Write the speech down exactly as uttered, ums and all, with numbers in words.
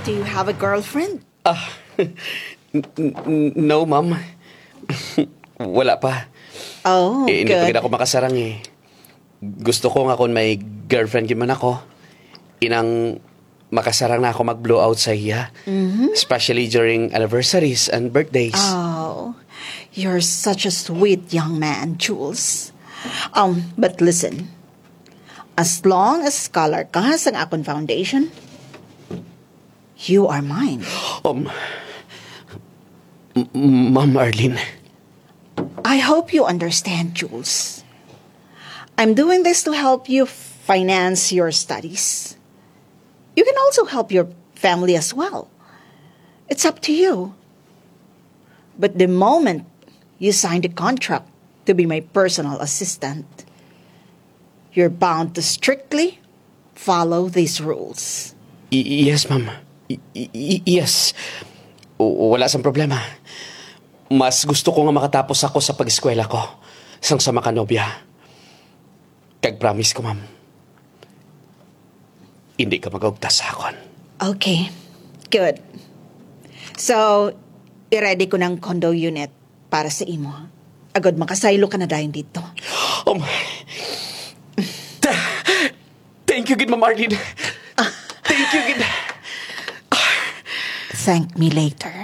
Do you have a girlfriend? Ah, n- n- n- no, ma'am. Wala pa. Oh, Eh, hindi pa good. gid ako makasarang eh. Gusto ko nga kung may girlfriend gid man ako, inang makasarang na ako mag-blow out sa iya. Especially during anniversaries and birthdays. Oh, you're such a sweet young man, Jules. Um, but listen, as long as scholar ka sang akon foundation, you are mine. Um, m- m- Ma'am Arlene, I hope you understand, Jules. I'm doing this to help you finance your studies. You can also help your family as well. It's up to you. But the moment you sign the contract to be my personal assistant, you're bound to strictly follow these rules. Y- yes, ma'am. Y- y- y- yes. W- wala sang problema. Mas gusto ko nga makatapos ako sa pag-eskwela ko sang sa makanobya. Kag promise ko, ma'am, hindi ka mag-ugtas sa akon. Okay. Good. So, i-ready ko na ang condo unit para sa imo. Agod makasaylo ka na dayon didto. Um, th- thank you gid, Ma'am Arlene. Thank you gid. Thank me later.